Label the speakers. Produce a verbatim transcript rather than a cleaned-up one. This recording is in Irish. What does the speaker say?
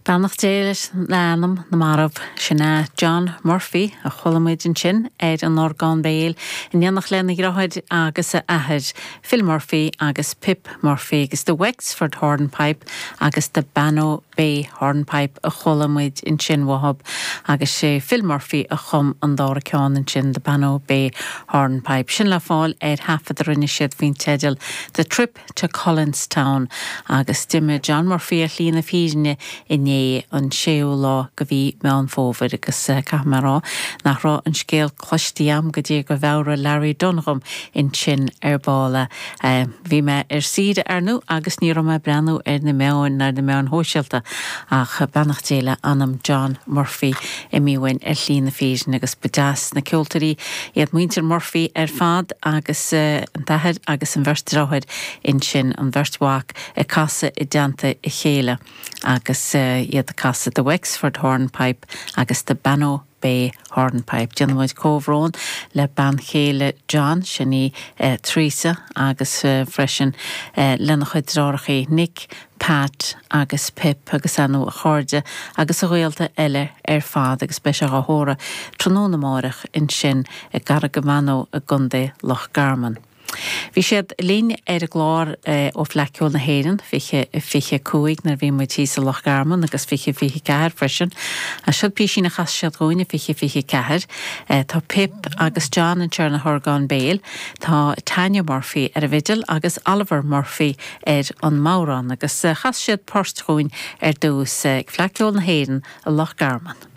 Speaker 1: Beannacht Dé leis anam na marbh sin é John Murphy a chuala muid ansin ar an orgán béil in éineacht lena dheartháir agus a athair Phil Murphy agus Pip Murphy agus the Wexford Hornpipe agus the Bannow Bay Hornpipe a chuala muid ansin uathub agus sé Phil Murphy a chum an dara ceann ansin the Bannow Bay Hornpipe. Sin le fáil ar thaifead a rinne siad faoin teideal The Trip to Collinstown agus d'imigh John Murphy ar shlí na fírinne inné an séú lá de mhí Meán Fómhair agus eh, caithfidh mé rá nach raibh an scéal cloiste agam go dtí gur mheabhraigh Larry Dunne dom ansin ar ball. Eh, bhí mé ar saoire ar ndóigh agus ní raibh mé ag breathnú ar na meáin ar na meáin shóisialta ach beannacht Dé le anam John Murphy imithe uainn ar shlí na fírinne agus ba deas na ceoltóirí iad muintir Murphy ar fad agus uh, an t-athair agus an bheirt deartháir ansin an bheirt mhac ag casadh i dteannta a chéile agus uh, iad ag casadh the Wexford Hornpipe agus the Bannow Bay Hornpipe. Déanaimid comhbhrón le bean chéile John sin í eh, Teresa agus eh, freisin eh, lena chuid deartháireacha Nick, Pat agus Pip agus a chairde agus a ghaolta eile ar fad agus beidh sé á thórramh tráthnóna amárach ansin i gCarraig an Bhannaigh i gContae Loch Garman. Bhí siad linn ar an gclár eh, ó Fhleadh Cheoil na hÉireann fiche fiche cúig nuair a bhí muid sa Loch Garman agus fiche fiche ceathair freisin. A seo píosín a chas siad dúinne fiche fiche ceathair, eh, Tá Pip agus John anseo ar na horgáin béil, Tá Tanya Murphy ar an bhfidil agus Oliver Murphy ar an mbodhrán agus eh, chas siad port dúinn ar dtús ag Fleadh Cheoil na hÉireann i Loch Garman.